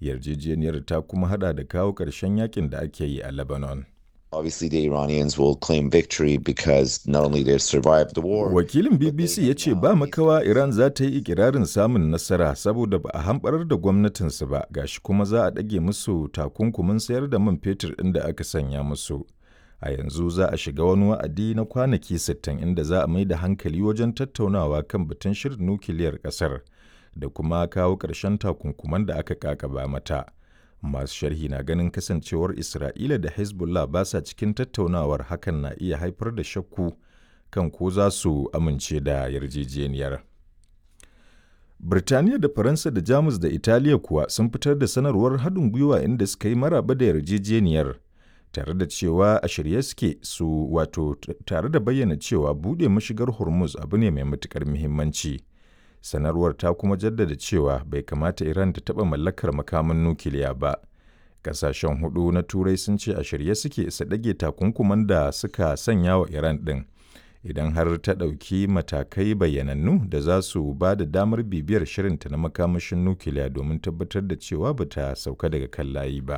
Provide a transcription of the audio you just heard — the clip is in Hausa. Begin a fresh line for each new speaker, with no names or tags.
Yarjejeniyar ta kuma hada da kawo ƙarshen yakin da ake yi a Lebanon.
Obviously, the Iranians will claim victory because not only they survived the war.
Wakilin BBC ya ce ba makawa Iran za ta yi ikirarin samun nasara saboda ba a hamɓarar da gwamnatinsu ba, gashi kuma za a ɗage musu takunkumin sayar da man fetur ɗin da aka sanya musu. A yanzu za a shiga wani wa'adi na kwanaki 60 inda za a mai da hankali wajen tattaunawa kan batun shirin nukiliyar ƙasar da kuma kawo ƙarshen takunkuman da aka kakaba mata. Masu sharhi na ganin kasancewar Isra'ila da Hezbollah ba sa cikin tattaunawar, hakan na iya haifar da shakku kan ko za su amince da yarjejeniyar. Birtaniya da Faransa da Jamus da Italiya kuwa sun fitar da sanarwar haɗin gwiwa inda suka yi maraba da yarjejeniyar, tare da cewa a shirye suke su wato tare da bayyana cewa buɗe mashigar Hormuz abu ne mai matuƙar muhimmanci. Sanarwar ta kuma jaddada cewa bai kamata Iran ta taɓa mallakar makaman nukiliya ba. Ƙasashen hudu na Turai sun ce a shirye suke su ɗage takunkuman da suka sanya wa Iran ɗin idan har ta ɗauki matakai bayyanannu da za su ba da damar bibiyar shirinta na makamashin nukiliya domin tabbatar da cewa ba ta sauka daga kan layi ba.